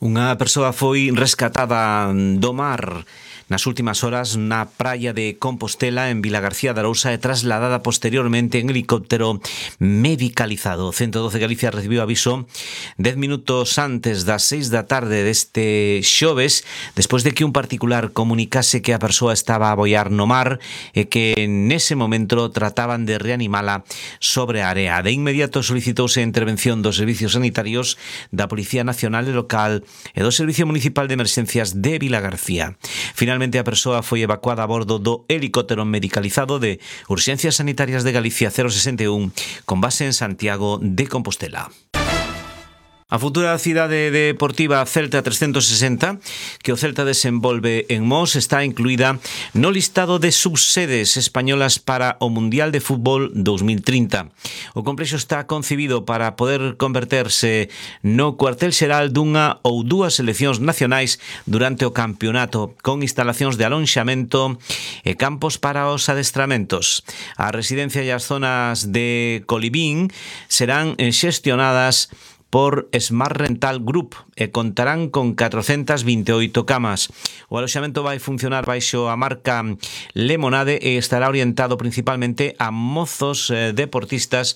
Unha persoa foi rescatada do mar nas últimas horas na praia de Compostela en Vilagarcía de Arousa e trasladada posteriormente en helicóptero medicalizado. O 112 Galicia recibiu aviso 10 minutos antes das 6 da tarde deste xoves, despois de que un particular comunicase que a persoa estaba a boiar no mar e que nese momento trataban de reanimala sobre a area. De inmediato solicitouse a intervención dos servicios sanitarios da Policía Nacional e Local e do Servicio Municipal de Emerxencias de Vilagarcía. Finalmente a persoa foi evacuada a bordo do helicóptero medicalizado de Urxencias Sanitarias de Galicia 061 con base en Santiago de Compostela. A futura cidade deportiva Celta 360, que o Celta desenvolve en Mos, está incluída no listado de subsedes españolas para o Mundial de Fútbol 2030. O complexo está concibido para poder converterse no cuartel xeral dunha ou dúas seleccións nacionais durante o campeonato, con instalacións de alonxamento e campos para os adestramentos. A residencia e as zonas de colibín serán xestionadas por Smart Rental Group e contarán con 428 camas. O aloxamento vai funcionar baixo a marca Lemonade e estará orientado principalmente a mozos deportistas,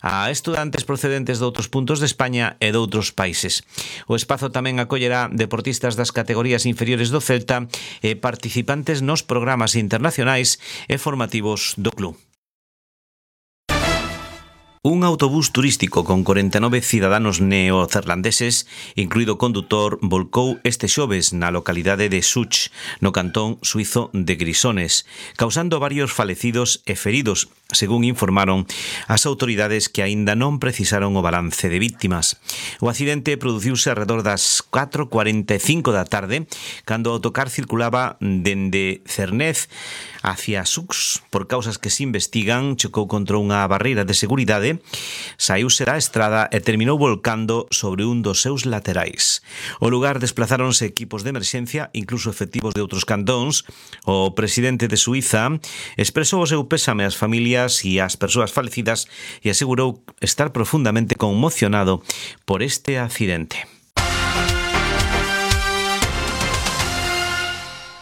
a estudantes procedentes de outros puntos de España e de outros países. O espazo tamén acollerá deportistas das categorías inferiores do Celta e participantes nos programas internacionais e formativos do club. Un autobús turístico con 49 ciudadanos neozelandeses, incluído o condutor, volcou este xoves na localidade de Such, no cantón suizo de Grisones, causando varios falecidos e feridos, según informaron as autoridades que aínda non precisaron o balance de víctimas. O accidente produciuse alrededor das 4:45 da tarde, cando o autocar circulaba dende Cernez hacia Sux. Por causas que se investigan, chocou contra unha barreira de seguridade, saíuse da estrada e terminou volcando sobre un dos seus laterais. O lugar desplazáronse equipos de emerxencia, incluso efectivos de outros cantóns. O presidente de Suiza expresou o seu pésame ás familias e ás persoas falecidas e asegurou estar profundamente conmocionado por este accidente.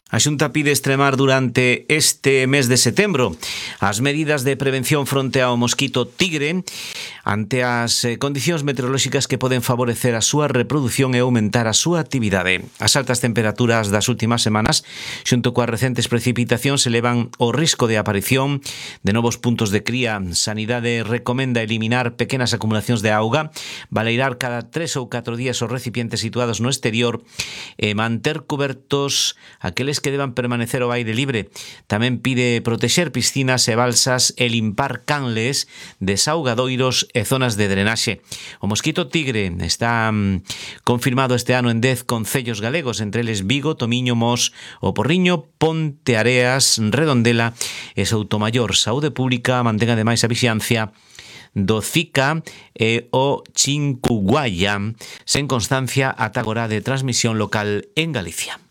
A Xunta pide extremar durante este mes de setembro as medidas de prevención fronte ao mosquito tigre ante as condicións meteorolóxicas que poden favorecer a súa reproducción e aumentar a súa actividade. As altas temperaturas das últimas semanas, xunto coas recentes precipitacións, elevan o risco de aparición de novos puntos de cría. Sanidade recomenda eliminar pequenas acumulacións de auga, baleirar cada 3 ou 4 días os recipientes situados no exterior e manter cubertos aqueles que deban permanecer ao aire libre. Tamén pide protexer piscinas e balsas e limpar canles, desaugadoiros e zonas de drenaxe. O mosquito tigre está confirmado este ano en 10 concellos galegos, entre eles Vigo, Tomiño, Mos, O Porriño, Ponteareas, Redondela e Soutomaior. Saúde Pública mantén ademais a vixiancia do Zika e o Chinkuguaya sen constancia ata agora de transmisión local en Galicia.